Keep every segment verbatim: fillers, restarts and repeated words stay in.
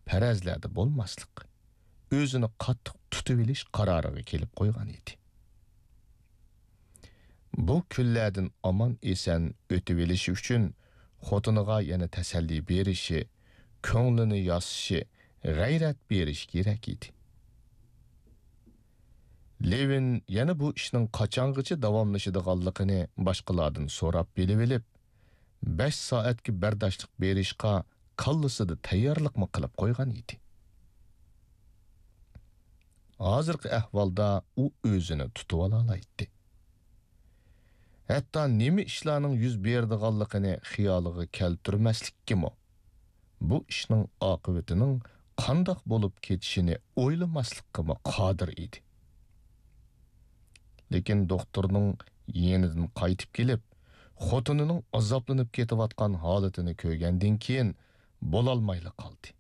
پەرەزلەردە بولماسلىق، ئۆزىنى قاتتىق تۇتۇۋېلىش قارارىغا كېلىپ قويغان ئىدى. بۇ كۈنلەردىن ئامان-ئېسەن ئۆتۈۋېلىشى ئۈچۈن خوتۇنىغا يەنە تەسەللى بېرىشى، كۆڭلىنى ياسىشى، غەيرەت بېرىشى كېرەك ئىدى. لېۋىن يەنە بۇ ئىشنىڭ قاچانغىچە داۋاملىشىدىغانلىقىنى باشقىلاردىن سوراپ بىلىۋېلىپ، بەش سائەتكە بەرداشلىق بېرىشقا كاللىسىدا تەييارلىقمۇ قىلىپ قويغان ئىدى. ھازىرقى ئەھۋالدا ئۇ ئۆزىنى تۇتۇۋالالايتتى. ھەتتا نېمە ئىشلارنىڭ يۈز بېرىدىغانلىقىنى خىيالىغا كەلتۈرمەسلىككىمۇ، بۇ ئىشنىڭ ئاقىۋىتىنىڭ قانداق بولۇپ كېتىشىنى ئويلىماسلىققىمۇ قادىر ئىدى. لېكىن دوختۇرنىڭ يېنىدىن قايتىپ كېلىپ، خوتۇنىنىڭ ئازابلىنىپ كېتىۋاتقان ھالىتىنى كۆرگەندىن كېيىن، بولالمايلا قالدى.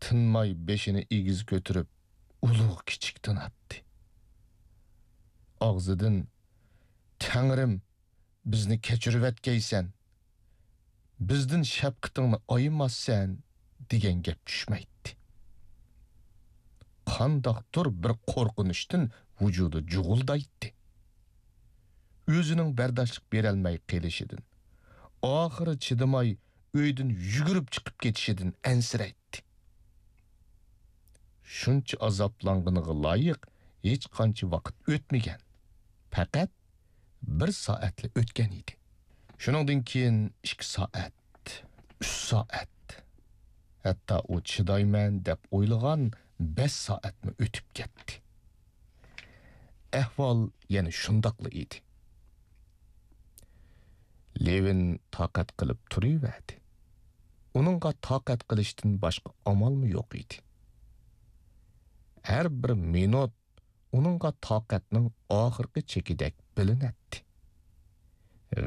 تىنماي بېشىنى ئېگىز كۆتۈرۈپ، ئۇلۇغ-كىچىك تىناتتى. ئاغزىدىن، «تەڭرىم، بىزنى كەچۈرۈۋەتكەيسەن، بىزدىن شەپقىتىڭنى ئايىماسسەن» دېگەن گەپ چۈشمەيتتى. قانداقتۇر بىر قورقۇنچتىن ۋۇجۇدى جۇغۇلدايتتى. ئۆزىنىڭ بەرداشلىق بېرەلمەي قېلىشىدىن، ئاخىرى چىدىماي ئۆيدىن يۈگۈرۈپ چىقىپ كېتىشىدىن ئەنسىرەيتتى. شۇنچە ئازابلانغىنىغا لايىق ھېچقانچە ۋاقىت ئۆتمىگەن. پەقەت بىر سائەتلا ئۆتكەن ئىدى. شۇنىڭدىن كېيىن ئىككى سائەت، ئۈچ سائەت، ھەتتا ئۇ چىدايمەن دەپ ئويلىغان بەش سائەتمۇ ئۆتۈپ كەتتى. ئەھۋال يەنە شۇنداقلا ئىدى. لېۋىن تاقەت قىلىپ تۇرۇۋەردى. ئۇنىڭغا تاقەت قىلىشتىن باشقا ئامالمۇ يوق ئىدى. ھەر بىر مىنۇت ئۇنىڭغا تاقەتنىڭ ئاخىرقى چېكىدەك بىلىنەتتى.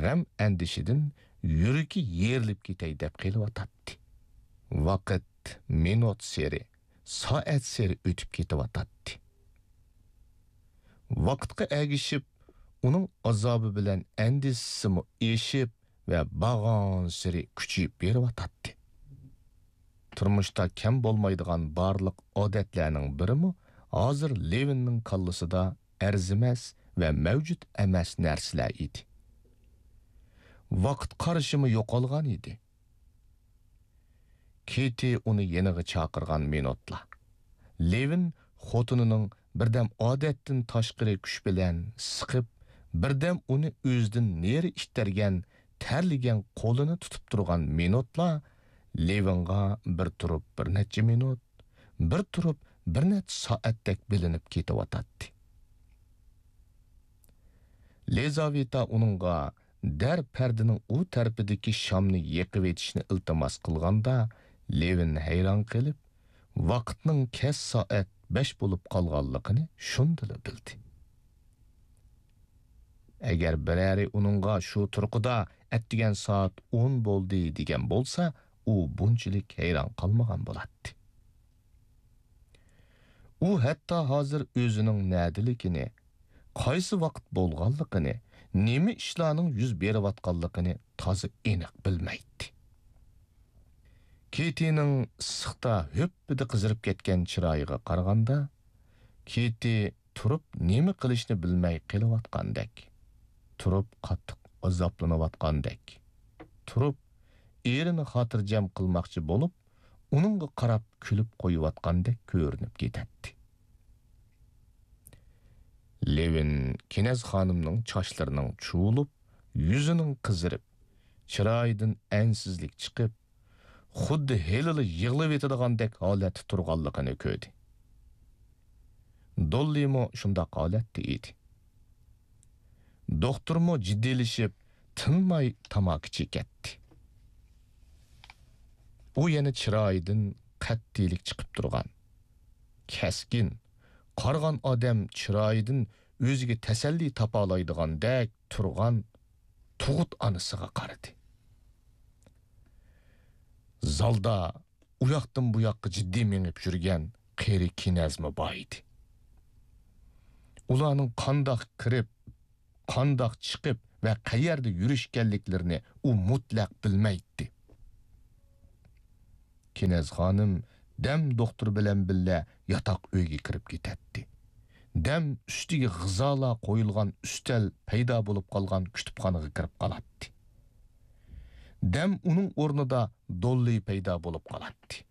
غەم-ئەندىشىدىن يۈرىكى يېرىلىپ كېتەي دەپ قېلىۋاتاتتى. ۋاقىت مىنۇتسېرى، سائەتسېرى ئۆتۈپ كېتىۋاتاتتى. ۋاقىتقا ئەگىشىپ، ئۇنىڭ ئازابى بىلەن ئەندىشىسىمۇ ئېشىپ ۋە بارغانسېرى كۈچىيىپ بېرىۋاتاتتى. تۇرمۇشتا كەم بولمايدىغان بارلىق ئادەتلەرنىڭ بىرىمۇ ھازىر لېۋىننىڭ كاللىسىدا ئەرزىمەس ۋە مەۋجۇت ئەمەس نەرسىلەر ئىدى. ۋاقىت قارىشىمۇ يوقالغان ئىدى. كېتى ئۇنى يېنىغا چاقىرغان مىنۇتلا، لېۋىن خوتۇنىنىڭ بىردەم ئادەتتىن تاشقىرى كۈچ بىلەن سىقىپ، بىردەم ئۇنى ئۆزىدىن نېرى ئىتتەرگەن تەرلىگەن قولىنى تۇتۇپ تۇرغان مىنۇتلا لېۋىنغا بىر تۇرۇپ بىر نەچچە مىنۇت، بىر تۇرۇپ بىر نەچچە سائەتتەك بىلىنىپ كېتىۋاتاتتى. لىزاۋېتا ئۇنىڭغا دەر پەردىنىڭ ئۇ تەرىپىدىكى شامنى يېقىۋېتىشنى ئىلتىماس قىلغاندا، لېۋىن ھەيران قېلىپ، ۋاقىتنىڭ كەچ سائەت بەش بولۇپ قالغانلىقىنى شۇندىلا بىلدى. ئەگەر بىرەرى ئۇنىڭغا شۇ تۇرقىدا ئەتىگەن سائەت ئون بولدى دېگەن بولسا، ئۇ بۇنچىلىك ھەيران قالمىغان بولاتتى. ئۇ ھەتتا ھازىر ئۆزىنىڭ نەدىلىكىنى، قايسى ۋاقىت بولغانلىقىنى، نېمە ئىشلارنىڭ يۈز بېرىۋاتقانلىقىنى تازا ئېنىق بىلمەيتتى. كېتىنىڭ ئىسسىقتا ھۆپپىدە قىزىرىپ كەتكەن چىرايىغا قارىغاندا، كېتى تۇرۇپ نېمە قىلىشنى بىلمەي قېلىۋاتقاندەك، تۇرۇپ قاتتىق ئازابلىنىۋاتقاندەك، تۇرۇپ ئېرىنى خاتىرجەم قىلماقچى بولۇپ، ئۇنىڭغا قاراپ كۈلۈپ قويۇۋاتقاندەك كۆرۈنۈپ كېتەتتى. لېۋىن كېنەز خانىمنىڭ چاچلىرىنىڭ چۇۋۇلۇپ، يۈزىنىڭ قىزىرىپ، چىرايىدىن ئەنسىزلىك چىقىپ، خۇددى ھېلىلا يىغلىۋېتىدىغاندەك ھالەتتە تۇرغانلىقىنى كۆردى. دوللىمۇ شۇنداق ھالەتتە ئىدى. دوختۇرمۇ جىددىيلىشىپ، تىنماي تاماكا چېكەتتى. ئۇ يەنە چىرايىدىن قەتئىيلىك چىقىپ تۇرغان، كەسكىن، قارىغان ئادەم چىرايىدىن ئۆزىگە تەسەللى تاپالايدىغاندەك تۇرغان تۇغۇت ئانىسىغا قارىدى. زالدا ئۇياقتىن بۇياققا جىددىي مېڭىپ يۈرگەن قېرى كېنەزمۇ بار ئىدى. ئۇلارنىڭ قانداق كىرىپ، قانداق چىقىپ ۋە قەيەردە يۈرۈشكەنلىكلىرىنى ئۇ مۇتلەق بىلمەيتتى. كېنەز خانىم دەم دوختۇر بىلەن بىللە ياتاق ئۆيگە كىرىپ كېتەتتى. دەم ئۈستىگە غىزالار قويۇلغان ئۈستەل پەيدا بولۇپ قالغان كۇتۇپخانىغا كىرىپ قالاتتى. دەم ئۇنىڭ ئورنىدا دوللى پەيدا بولۇپ قالاتتى.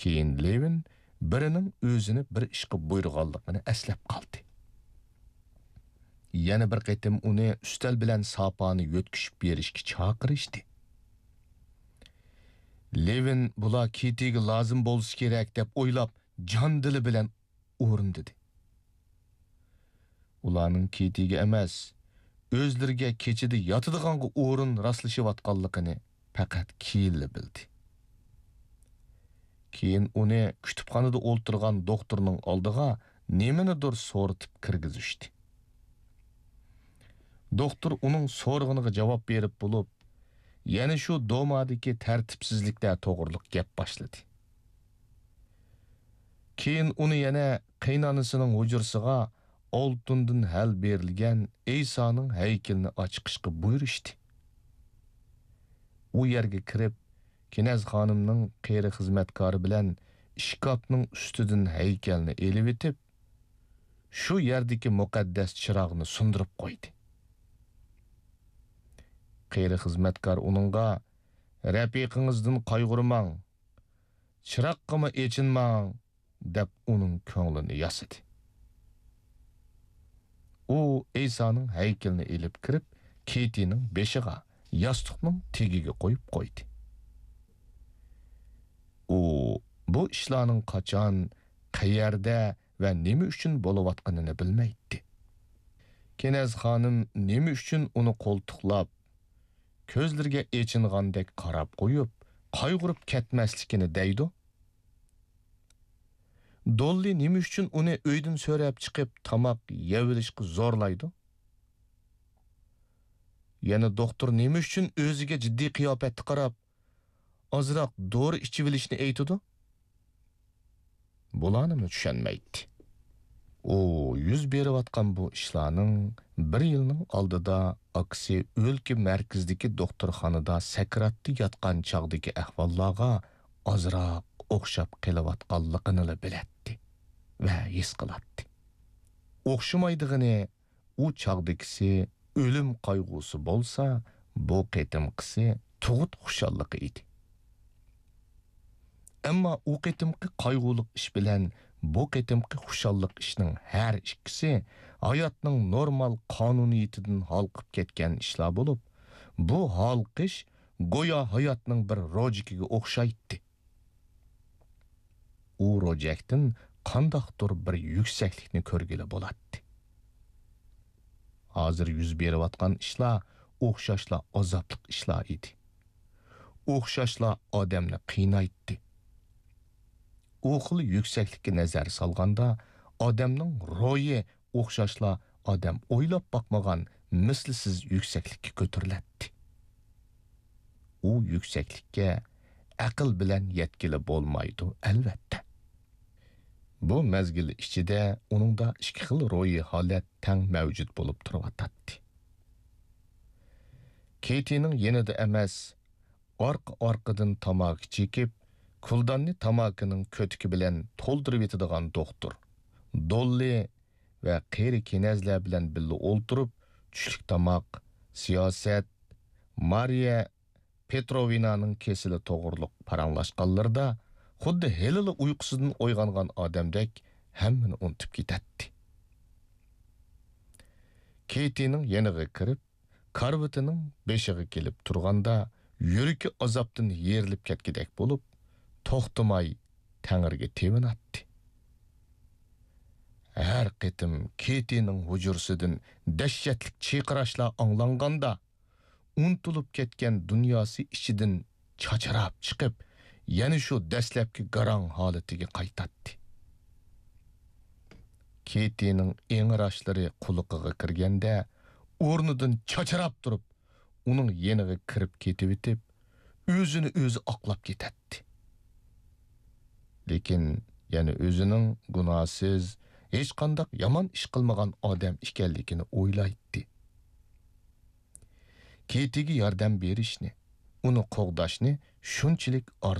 كېيىن لېۋىن بىرىنىڭ ئۆزىنى بىر ئىشقا بۇيرۇغانلىقىنى ئەسلەپ قالدى. يەنە بىر قېتىم ئۇنى ئۈستەل بىلەن ساپانى يۆتكىشىپ بېرىشكە چاقىرىشتى. لېۋىن بۇلار كېتىگە لازىم بولسا كېرەك دەپ ئويلاپ، جان دىلى بىلەن ئورۇندىدى. ئۇلارنىڭ كېتىگە ئەمەس، ئۆزلىرىگە كېچىدە ياتىدىغانغا ئورۇن راسلىشىۋاتقانلىقىنى پەقەت كېيىنلا بىلدى. كېيىن ئۇنى كۇتۇپخانىدا ئولتۇرغان دوختۇرنىڭ ئالدىغا نېمىنىدۇر سورىتىپ كىرگۈزۈشتى. دوختۇر ئۇنىڭ سورىغىنىغا جاۋاب بېرىپ بولۇپ، يەنە شۇ دومادىكى تەرتىپسىزلىكلەر توغرىلىق گەپ باشلىدى. كېيىن ئۇنى يەنە قېينانىسىنىڭ ھۇجرىسىغا ئالتۇندىن ھەل بېرىلگەن ئەيسانىڭ ھەيكىلىنى ئاچىقىشقا بۇيرۇشتى. ئۇ يەرگە كىرىپ، كېنەز خانىمنىڭ قېرى خىزمەتكارى بىلەن ئىشكاپنىڭ ئۈستىدىن ھەيكەلنى ئېلىۋېتىپ، شۇ يەردىكى مۇقەددەس چىراغنى سۇندۇرۇپ قويدى. قېرى خىزمەتكار ئۇنىڭغا، «رەپىقىڭىزدىن قايغۇرماڭ، چىراغقىمۇ ئېچىنماڭ» دەپ ئۇنىڭ كۆڭلىنى ياسىدى. ئۇ ئەيسانىڭ ھەيكىلىنى ئېلىپ كىرىپ، كېتىنىڭ بېشىغا، ياستۇقنىڭ تېگىگە قويۇپ قويدى. ئۇ بۇ ئىشلارنىڭ قاچان، قەيەردە ۋە نېمە ئۈچۈن بولۇۋاتقىنىنى بىلمەيتتى. كېنەز خانىم نېمە ئۈچۈن ئۇنى قولتۇقلاپ، كۆزلىرىگە ئېچىنغاندەك قاراپ قويۇپ، قايغۇرۇپ كەتمەسلىكىنى دەيدۇ؟ دوللى نېمە ئۈچۈن ئۇنى ئۆيدىن سۆرەپ چىقىپ، تاماق يەۋېلىشقا زورلايدۇ؟ يەنە دوختۇر نېمە ئۈچۈن ئۆزىگە جىددىي قىياپەتتە قاراپ، ئازراق دورا ئىچىۋېلىشنى ئېيتىدۇ؟ بۇلارنىمۇ چۈشەنمەيتتى. ئۇ يۈز بېرىۋاتقان بۇ ئىشلارنىڭ بىر يىلنىڭ ئالدىدا ئاكىسى ئۆلكە مەركىزىدىكى دوختۇرخانىدا سەكراتتا ياتقان چاغدىكى ئەھۋاللارغا ئازراق ئوخشاپ قېلىۋاتقانلىقىنىلا بىلەتتى ۋە ھېس قىلاتتى. ئوخشىمايدىغىنى، ئۇ چاغدىكىسى ئۆلۈم قايغۇسى بولسا، بۇ قېتىمقىسى تۇغۇت خۇشاللىقى ئىدى. ئەمما ئۇ قېتىمقى قايغۇلۇق ئىش بىلەن بۇ قېتىمقى خۇشاللىق ئىشنىڭ ھەر ئىككىسى ھاياتنىڭ نورمال قانۇنىيىتىدىن ھالقىپ كەتكەن ئىشلار بولۇپ، بۇ ھالقىش گويا ھاياتنىڭ بىر روجىكىگە ئوخشايتتى. ئۇ روجەكتىن قانداقتۇر بىر يۈكسەكلىكنى كۆرگىلى بولاتتى. ھازىر يۈز بېرىۋاتقان ئىشلار ئوخشاشلا ئازابلىق ئىشلار ئىدى. ئوخشاشلا ئادەمنى قىينايتتى. ئۇ خىل يۈكسەكلىككە نەزەر سالغاندا، ئادەمنىڭ روھى ئوخشاشلا ئادەم ئويلاپ باقمىغان مىسلىسىز يۈكسەكلىككە كۆتۈرۈلەتتى. ئۇ يۈكسەكلىككە ئەقىل بىلەن يەتكىلى بولمايدۇ، ئەلۋەتتە. بۇ مەزگىل ئىچىدە ئۇنىڭدا ئىككى خىل روھىي ھالەت تەڭ مەۋجۇت بولۇپ تۇرۇۋاتاتتى. كېتىنىڭ يېنىدا ئەمەس، ئارقا-ئارقىدىن تاماكا چېكىپ، كۇلداننى تاماكىنىڭ كۆتۈكى بىلەن تولدۇرۇۋېتىدىغان دوختۇر، دوللى ۋە قېرى كېنەزلەر بىلەن بىللە ئولتۇرۇپ، چۈشلۈك تاماق، سىياسەت، مارىيە پېتروۋنانىڭ كېسىلى توغرۇلۇق پاراڭلاشقانلىرىدا، خۇددى ھېلىلا ئۇيقۇسىدىن ئويغانغان ئادەمدەك ھەممىنى ئۇنتۇپ كېتەتتى. كېتىنىڭ يېنىغا كىرىپ، كارىۋىتىنىڭ بېشىغا كېلىپ تۇرغاندا، يۈرىكى ئازابتىن يېرىلىپ كەتكۈدەك بولۇپ، توختىماي تەڭرىگە تېۋىناتتى. ھەر قېتىم كېتىنىڭ ھۇجرىسىدىن دەھشەتلىك چىرقىراشلار ئاڭلانغاندا، ئۇنتۇلۇپ كەتكەن دۇنياسى ئىچىدىن چاچراپ چىقىپ، يەنە شۇ دەسلەپكى گاراڭ ھالىتىگە قايتاتتى. كېتىنىڭ ئىڭراشلىرى قۇلىقىغا كىرگەندە، ئورنىدىن چاچراپ تۇرۇپ، ئۇنىڭ يېنىغا كىرىپ كېتىۋېتىپ، ئۆزىنى ئۆزى ئاقلاپ كېتەتتى. لېكىن يەنە ئۆزىنىڭ گۇناھسىز، ھېچقانداق يامان ئىش قىلمىغان ئادەم ئىكەنلىكىنى ئويلايتتى. كېتىگە ياردەم بېرىشنى، ئۇنى قوغداشنى شۇنچىلىك ئارزۇ